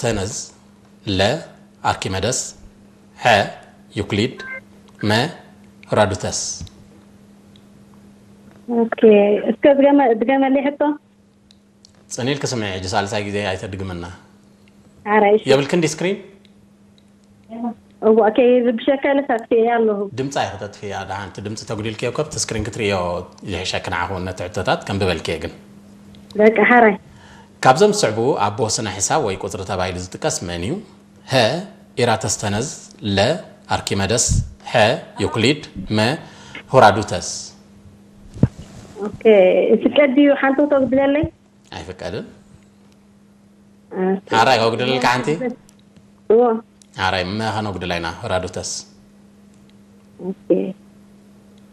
ኤራተስተነዝ፣ ለ ኣርኪመደስ፣ ሐ ዩክሊድ፣ መ ሄራዱተስ። ኦኬ፣ እስከ ድገመ- ድገመለይ ሕቶ። ጽን ኢልኪ ስምዒ፣ ሕጂ ሳልሳይ ግዜ ኣይተድግምና። ሓራይ እሺ። የብልክን ዲ ስክሪን? እዋ፣ ከይርብሸካ ኢለ ሳክትየ ኣለኹ። ድምጻ ኢኺ ተጥፍያ። ደሓን እቲ ድምጺ ተጉዲልክዮ እኮ ኣብቲ ስክሪን ክትርእዮ ይሕሸኪ። ንዓኹ ነቲ ሕቶታት ከንብበልክየ ግን። በቃ ሓራይ። ካብዞም ዝስዕቡ ኣቦ ስነ ሕሳብ ወይ ቁጽሪ ተባሂሉ ዝጥቀስ መን እዩ? ሀ ኢራተስተነዝ፣ ለ ኣርኪመደስ፣ ሐ ዩክሊድ፣ መ ሄራዱተስ። ኦኬ፣ ፍቀድ ድዩ ሓንቲ ክተጉድለለይ? ኣይፍቀድን። ኦኬ። ሓራይ ከጉድለልካ ሓንቲ? እዎ። ሓራይ መ ከነጉድላ ኢና። ሄራዱተስ። ኦኬ።